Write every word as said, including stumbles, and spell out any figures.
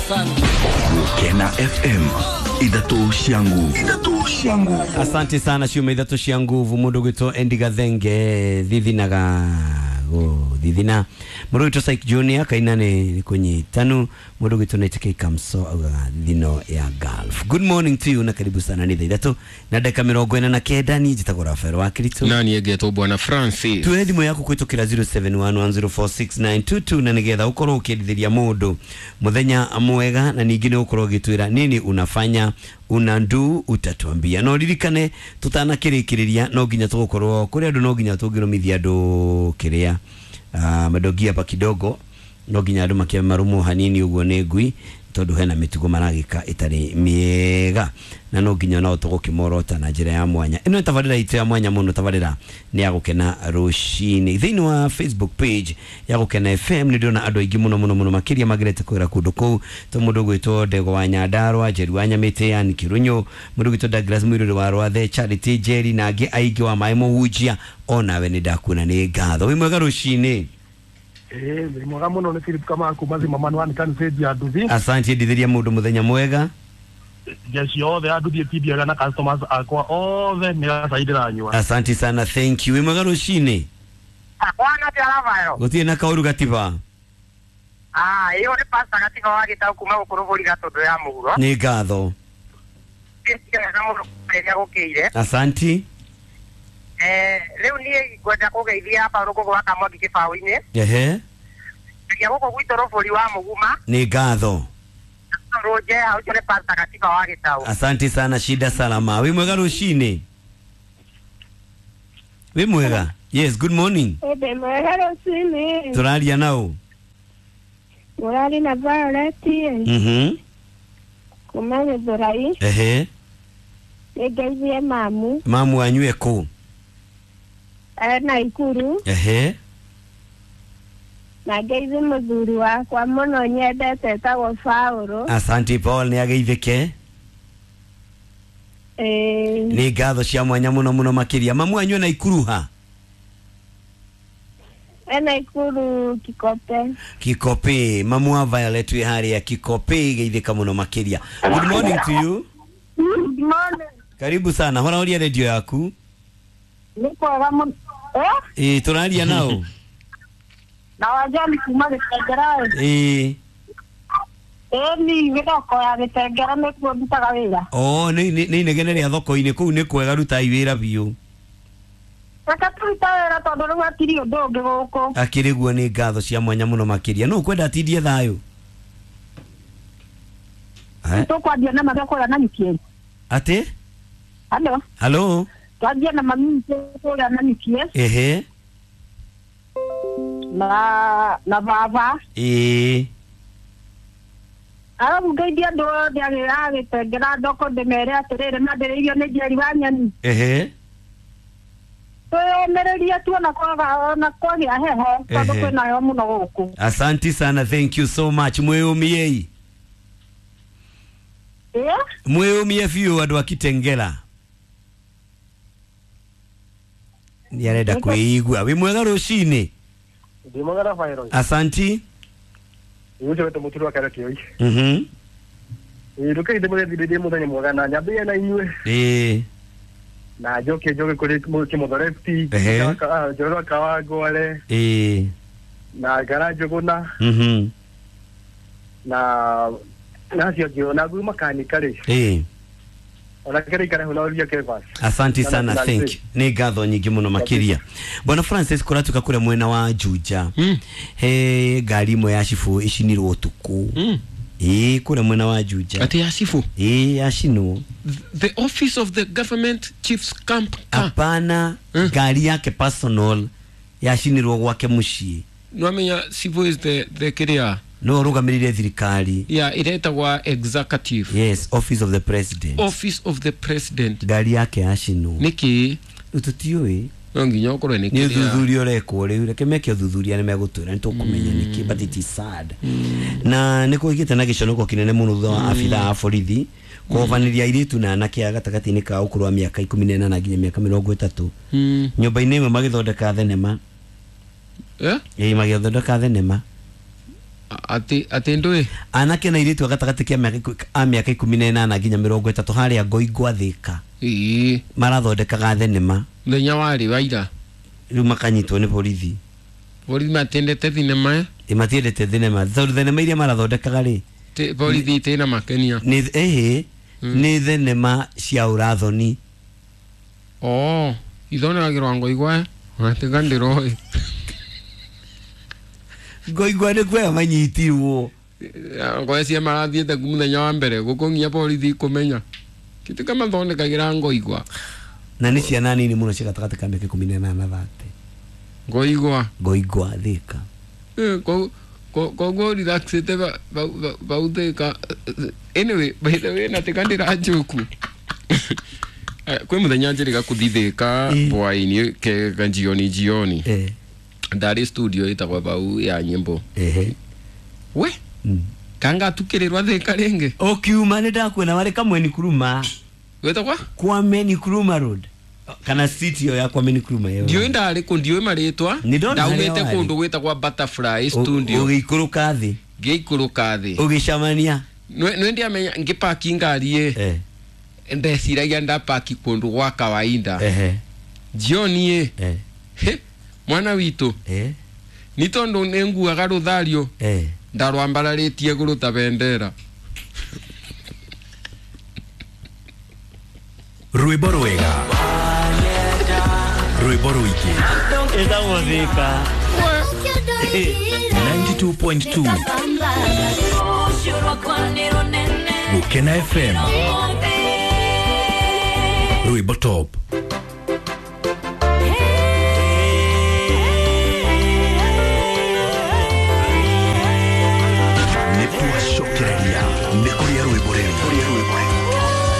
Gukena F M ithatu cia nguvu, ithatu cia nguvu. Asante sana ciuma ithatu cia nguvu mundu gwitwo Endi Gathenge thithinaga go thithina mundu gwitwo Psych Junior kaina ni kunyitanu mundu gwitwo N K Kamso augaga thino ya Gulf. Good morning to you na karibu sana ni thaa ithatu na dakika mirongo ina na kenda. Ni njitagwo Rafael wa Kristo na niĩ ngetwo Bwana Francis. Tuhe thimũ yaku kwitukira zero seven one one zero four six nine two two na nigetha ukorwo ukiendithĩria mũndũ muthenya mwega na ningĩ nĩ ũkorwo ũgĩtwĩra nini unafanya unandu utatuambia. No ririkane tutanakĩrĩkĩrĩria no nginya tũgũkorwo kũrĩ andũ no nginya tũngĩrũmithia andũ kĩrĩa uh, madogi hapa kidogo no nginya andũ makia marũmwo hanini ũguo nĩ ngui tondũ hena mĩtugo maragĩka ĩtarĩ mĩega na no nginya no tũgũkĩmorota na njĩra ya mwanya. Ĩno nĩ tabarĩra itũ ya mwanya mũno, tabarĩra nĩ ya gũkena rũcinĩ. Thĩinĩ wa Facebook page ya Gũkena F M nĩ ndĩrona andũ aingĩ mũno mũno mũno makĩria magerete kwĩra kũndũ kũu to mũndũ gwĩtwo Ndego wa Nyandarũa, Njeru wa Nyamĩtĩ, yani Kĩrũnyũ, mũndũ gwĩtwo Douglas Mwirũrĩ wa Rwathe, Charity Njeri na angĩ aingĩ wa maĩ mũhunjia onawe nĩ ndakuona, nĩ ngatho. Wĩ mwega rũcinĩ? Ĩĩ, wĩ mwega mũno, nĩ Philip Kamau kuma Zimmerman wa Kanitha ya Nduthi. Asante, ndithĩria mũndũ mũthenya mwega. Jeshi othe a Nduthi ĩtindiaga na customers akwa othe nĩ gacai ndĩranyua. Asante sana, thank you. Wĩ mwega rũcinĩ? Bwana ti Rafael. Gũtirĩ na kaũru gatiba. Ah, iyo nĩ pastor Gatiba wa Gĩtaũ kuma gũkũ Rũbũri Gatũndũ ya mũhuro. Nĩ ngatho. Wega mũno rĩrĩa gũkĩire. Asanti. Eh, rĩu niĩ ngwenda kũgeithia Paul Ngũgũ wa Kamwangi kĩbaũ-inĩ. Ehe. Nginya gũkũ gwitũ Rũbũri wa Mũguma. Nĩ ngatho. Rũnje ũcio nĩ pastor Gatiba wa Gĩtaũ. Asante sana, shida salama. Wĩ mwega rũcinĩ? Wĩ mwega? Yes, good morning. Ĩndĩ mwega rũcinĩ. Tũraria nao? Mũrari na Violet. Mhm kuma Gĩthũrai. Ehe. Nĩngeithie mamu. Mamu wanyu ekũ? Ena Ikuru. Ehe. Na ngeithie mũthuri wakwa mũno nyendete etagwo Paũlũ. Asante, Paul nĩ ageithĩke. Ĩĩ. Nĩ ngatho cia mwanya mũno mũno makĩria. Mamu wanyu ena Ikuru ha? Ena Ikuru Kikope. Kikope. Mamu wa Violet wĩ harĩa Kikope, geithĩka mũno makĩria. Good morning to you. Good morning. Karibu sana, horahoria redio yaku. Nĩ kwega mũno. Eh? Ĩĩ, tũraria nao? Na wajani kuma Gĩtengera. Ĩĩ. Ĩĩ, ni gĩthoko ya Gĩtengera nĩkuo ndutaga wĩra. Oh, nĩ nĩ nĩ inegene rĩa thoko-inĩ kũu. Nĩ kwega, rutai wĩra biũ. Reke tũrute wĩra tondũ rĩu hatirĩ ũndũ ũngĩ gũkũ. Akĩrĩ guo, nĩ ngatho cia mwanya mũno makĩria. No ũkwenda atindie thayũ? Eh? Tũkwanjia na mami kũrĩa na nyukie. Atĩ? Halo. Halo. Twanjia na mami kũrĩa na nyukie. Ehe. Na na baba. Ĩĩ. Arabu ngeithia andũ othe a Gĩtengera thoko ndĩmere atĩrĩrĩ mandĩrĩirio nĩ Njeri wa Nyoni. Ehe. Twĩyũmĩrĩrie tuona kwaga ona kwagĩa heho tondũ Ehe. kwĩna heho mũno gũkũ. Asanti sana, thank you so much. Mwĩyũmiei. Ĩĩ. Mwĩyũmie biũ andũ a Kitengela. Nĩ arenda kwĩigua. Wĩ mwega rũcinĩ? Ndĩ mwega, Rafael. Asanti. Ũcio wetwo Mũturi wa Karo Kĩoi. Mhm. Ĩĩ, rũkei ndĩmũgeithĩrĩrie mũthenya mwega na nyambĩrĩrie na inyuĩ Ĩĩ. na njoke njoke kũrĩ Kĩmũthoreti, Ehe. Njorua Kawangware Ĩĩ. na Ngara Njũgũna Mhm. na na acio angĩ na ngui makanika rĩ Ĩĩ. ona kĩrĩ ikare hau na ũria Kevas. Asante sana, Na- thank you. Nĩ ngatho nyingĩ mũno makĩria. Bwana Francis, kũratuĩka kũrĩa mwena wa Juja Mm. he ngari ĩmwe ya cibũ ĩcinirwo ũtukũ. Mm. Ĩĩ, kũrĩa mwena wa Juja. Ati ya cibu? Ĩĩ, yacinwo. The office of the government chief's camp car? Hapana. Mm. Ngari yake personal yacinirwo gwake mũciĩ. Nwamenya cibu is the the kiria No ũrũgamĩrĩire thirikari. Ya iretagwa executive. Yes, office of the president. Office of the president. Ngari yake yacinwo. Niki? Rĩu tũtiũĩ. No nginya ũkorwo nĩ Nĩ kĩrĩa. ũthuthuria ũrekwo rĩu, reke meke ũthuthuria nĩ megũtwĩra, nĩ tũkũmenya nĩkĩ, but it is sad na nĩ kũgĩte na gĩconoko kĩnene mũno thutha wa abithaa a borithi kũhovanĩria airĩtu na anake a gatagatĩ-inĩ ka ũkũrũ wa mĩaka ikũmi na ĩnana nginya mĩaka mĩrongo ĩtatũ Mm. nyũmba-inĩ ĩmwe magĩthondeka thenema. Eh? Ĩĩ, magĩthondeka thenema. Ati ati ndui Anake na airĩtu a gatagatĩ kĩa mĩaka iku- a mĩaka ikũmi na ĩnana nginya mĩrongo ĩtatũ harĩa Ngoingwa Thĩka. Ĩĩ. Marathondekaga thenema. Mũthenya warĩ wa ira. Rĩu makanyitwo nĩ borithi. Borithi matendete thinema. Ĩ matiendete thenema tondũ thenema iria marathondekaga rĩ, Ti- borithi itina makenia. Nĩ ĩhĩ nĩ thenema cia ũrathoni. Oo, ithondekagĩrwo Ngoigwa watiga ndĩroĩ. Ngoigwa nĩ kuoya manyitirwo. Ngoe cia marathiĩte ku mũthenya wa mbere gũkũ nginya borithi kũmenya kĩtuka mathondekagĩra Ngoigwa. Na nĩ ciana nini mũno cia gatagatĩ ka mĩaka ikũmi na ĩnana thate. Ngoigwa. Ngoigwa Thĩka. Eh, ko ko koguo relaxĩte bau Thĩka. Anyway, by the way, na tika ndĩranjuku. Eh, kwĩ mũthenya njĩrĩga kũthi Thĩka Eh. hwaĩ-inĩ kega jioni jioni. Eh. Ndarĩ studio ĩtagwo bau ya nyĩmbo. Ehe. We Mm. kanga tukĩrĩrwa Thĩka rĩngĩ. Ũkiuma nĩ ndakuona warĩ Kamwe Nkrumah. Gwĩtagwa? Kwame Nkrumah Road. Kana street ĩyo ya Kwame Nkrumah ĩyo. Ndiũĩ ndarĩ kũ, ndiũĩ marĩtwa. Nĩ ndona harĩa Ndaumĩte warĩ. kũndũ gwĩtagwa Butterfly Ũ- Studio. Ũgĩikũrũka thĩ. Ngĩikũrũka thĩ. Ũgĩcemania. Nĩ ndiamenya ngĩpaki ngari ĩ. Eh. Ndeciragia ndapaki kũndũ gwa kawaida. Ehe. Jioni ĩ. Eh. He, mwana witũ. Eh. Nĩ tondũ nĩ nguaga rũthario. Eh. Ndarwambararĩtie igũrũ ta bendera. Rwĩmbo rwega, rwĩmbo rũingĩ. Ĩtagwo Thĩka. ninety two point two Gũkena F M. Rwĩmbo top. Nĩ twacokereria nĩ kũrĩa rwĩmbo rĩrĩ.